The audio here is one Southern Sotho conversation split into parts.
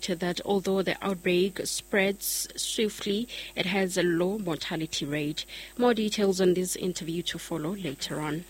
noted that although the outbreak spreads swiftly, it has a low mortality rate. More details on this interview to follow later on.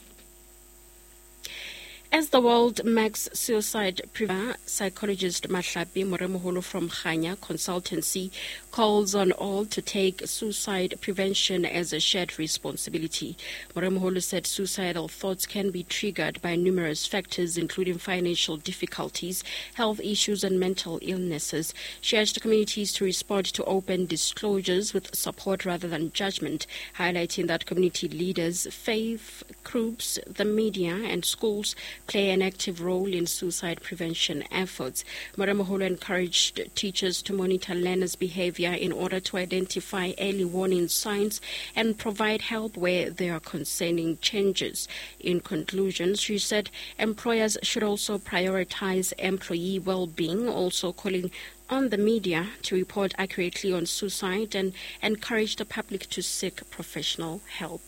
As the world marks suicide prevention, psychologist Mahlapi Moremoholo from Khanya Consultancy calls on all to take suicide prevention as a shared responsibility. Moremoholo said suicidal thoughts can be triggered by numerous factors, including financial difficulties, health issues, and mental illnesses. She urged communities to respond to open disclosures with support rather than judgment, highlighting that community leaders, faith groups, the media, and schools play an active role in suicide prevention efforts. Moremoholo encouraged teachers to monitor learners' behavior in order to identify early warning signs and provide help where there are concerning changes. In conclusion, she said employers should also prioritize employee well-being, also calling on the media to report accurately on suicide and encourage the public to seek professional help.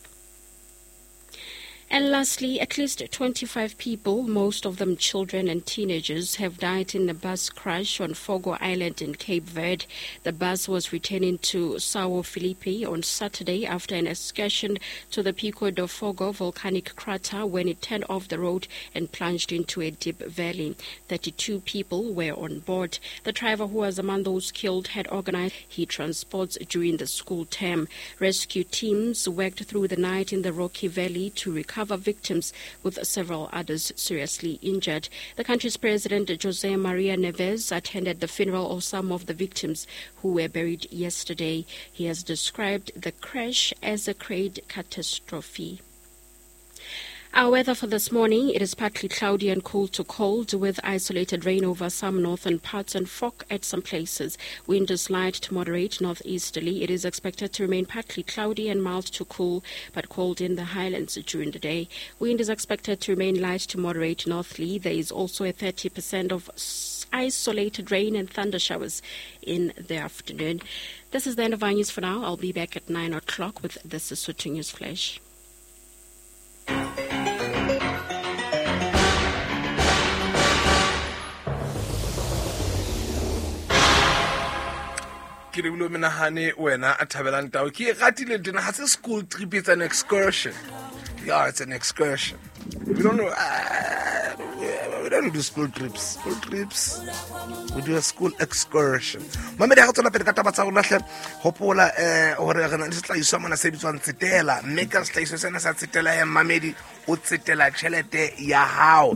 And lastly, at least 25 people, most of them children and teenagers, have died in a bus crash on Fogo Island in Cape Verde. The bus was returning to Sao Felipe on Saturday after an excursion to the Pico do Fogo volcanic crater when it turned off the road and plunged into a deep valley. 32 people were on board. The driver, who was among those killed, had organized he transports during the school term. Rescue teams worked through the night in the rocky valley to recover victims, with several others seriously injured. The country's president, Jose Maria Neves, attended the funeral of some of the victims who were buried yesterday. He has described the crash as a great catastrophe. Our weather for this morning, it is partly cloudy and cool to cold with isolated rain over some northern parts and fog at some places. Wind is light to moderate northeasterly. It is expected to remain partly cloudy and mild to cool, but cold in the highlands during the day. Wind is expected to remain light to moderate northerly. There is also a 30% of isolated rain and thunder showers in the afternoon. This is the end of our news for now. I'll be back at 9 o'clock with the Sesotho News Flash. Ke lebile menahane wena a thabelang tao ke e ratile tena ha se school trip, it's an excursion. Yeah, it's an excursion. We don't know, we don't do school trips. School trips, we do a school excursion. Mamedi ha re tswela pele ka taba tsa rona hle, hopola hore re na le sehlahiswa mona se bitswang Tsetela, mme ka sehlahiswa sena sa Tsetela ya mamedi o tsetela tjhelete ya hao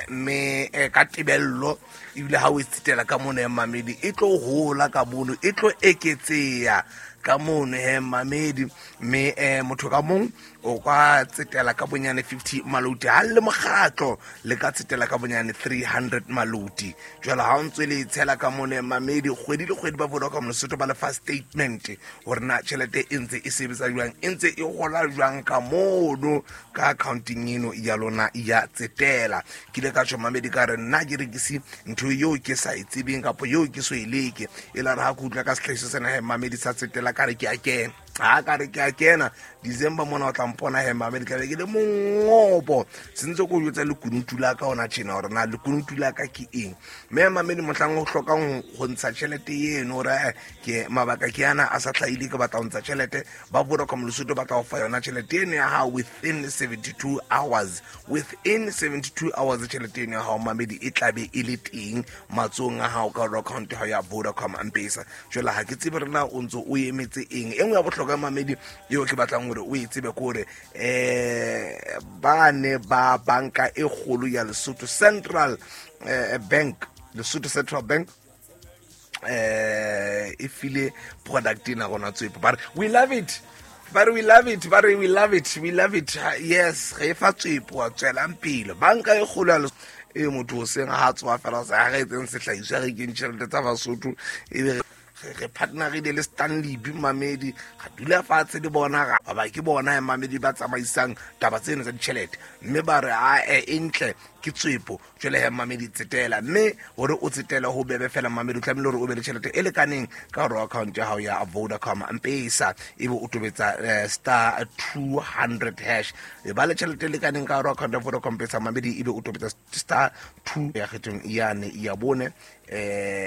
mme ka tebello ebile ha o e tsetela ka mono ya mamedi e tlo hola ka mono, e tlo eketseha ka mono he mamedi, mme motho ka mong o ka tsetela ka bonyane 50 maloti, ha le mokgatlo le ka tsetela ka bonyane 300 maloti. Jwale ha o ntse le tshela ka mono mamedi kgwedi le kgwedi ba Vodacom Lesotho ba lefa statement hore na tjhelete e ntse e sebetsa jwang, e ntse e hola jwang ka mono ka accounting eno ya lona ya Tsetela. Ke ile ka tjho mamedi ka re nna ke rekise ntho eo ke sa e tsebeng kapa eo ke so e leke, e la re ha ke utlwa ka sehlahiswa sena he mamedi sa Tsetela ka re ke a kena. Ha ka re ke a kena December mona o tla mpona he mamedi tla be ke le mongopo sentse ko jwetsa lekunutu la ka ona tjena hore na lekunutu la ka ke eng. Mme mamedi mohlang o hlokang ho ntsha tjhelete eno hore ke mabaka ke ana a sa hlahile ke batla ho ntsha tjhelete, ba Vodacom Lesotho ba tla o fa yona tjhelete eno ya hao within 72 hours. Within 72 hours tjhelete eno ya hao mamedi e tla be e le teng matsohong a hao ka account ya hao ya Vodacom M-Pesa. Jwale ha ke tsebe rena o ntso o emetse eng. E nngwe ya bohlokwa mamedi eo ke batlang hore o e tsebe ke hore ba ne ba banka e kgolo ya Lesotho Central Bank, Lesotho Central Bank e file product ena rona Tswepo, ba re we love it, ba re we love it, ba re we love it, we love it. Yes, re fa Tswepo wa tswelang pele banka e kgolo ya Lesotho e motho o seng ha tswa fela sa re etseng sehlahiswa re keng tjhelete tsa Basotho e be re partnerile le Stanley B mamedi, ga dula fatshe le bona ga ba ke bona mamedi ba tsamaisang taba tseno tsa ditjhelete, mme ba re a e ntle ke Tswepo. Jwale he mamedi tsetela, mme hore o tsetela ho bebe fela mamedi o tlamehile hore o be le tjhelete e lekaneng ka hore account ya hao ya Vodacom M-Pesa ebe o tobetsa star 200 hash, e ba le tjhelete e lekaneng ka hore account ya Vodacom M-Pesa mamedi ebe o tobetsa star 2 ya kgethong yane ya bone.